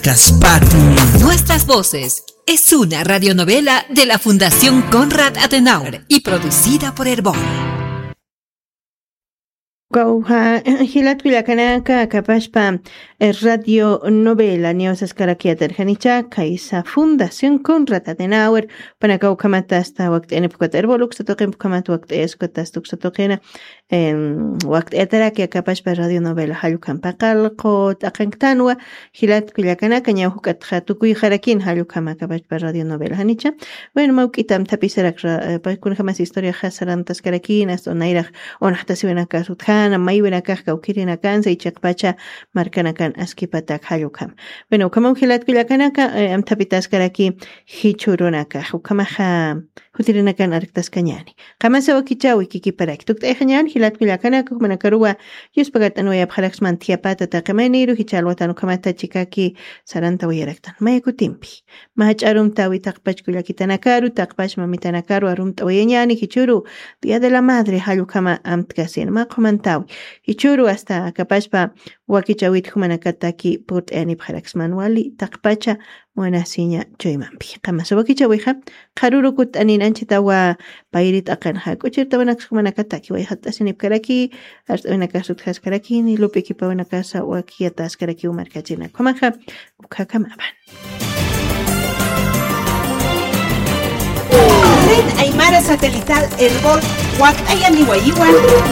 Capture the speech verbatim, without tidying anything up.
Kaspati. Nuestras voces es una radionovela de la Fundación Konrad Adenauer y producida por Erbol. Kawja, jilat kullakanaka, kapashpa, eh, radio novela, niwsaskarakiyätarjanicha, kaysa Fundación Konrad Adenauer, panaka ukhamat asta wakt'ayanipxukat Erbol uksa tuqin, ukhamat wakt'ayaskat asta uksa tuqina, em, wakt'ayataraki akapashpa radio novela jallukhampa qallqu t'aqanktanwa, jilat kullakanaka, ñaw juk'atxa tukuyxarakin jallukhama akapashpa radio novela janicha. Bueno, mawk'ita amthapisarak ra-, eh, pa-, kunjamas historiaxa sarantaskarakina, asta nayraq unaxtasiwinakax utjana, maywinakax kawkirinakansa, y chiqpacha markanakan askipatak jallukhama. Bueno, ukhamaw jilat kullakanaka, eh, amthapitaskaraki jichhürunakax, ukhamaxa jutirinakan arktaskañäni. Qamasa wakichäwi kikiparaki. Tukt'ayxañän jilat kullakanaka, jumanakaruwa yuspagat'anwayapxaraksman thiyapata taqi mayniru, jichha alwatan ukhamata chikaki sarantawayaraktan. Maya kutimpi. Mä jach'a arumtäwi taqpach kullakitanakaru, taqpach mamitanakaru arumt'awayañäni, jichhüru Día de la Madre jallukhama amtkasin. Mä qhumantäwi. Jichhüru asta akapashpa wakichäwit jumanakataki purt'ayanipxaraksman wali taqpacha munasiña chuymampi. Qamasa wakichäwixa, qharüru kutt'anin anchhitawa payri t'aqanxa, k'uchirtawinaksa jumanakataki wayjat'asinipkaraki, art'awinakasa utjaskarakini, lup'ikipawinakasa wakiyatäskarakiw markachinak. Ukhamaxa, ukhakhamapan. Red Aymara Satelital Erbol, wakt'ayaniwayiwan.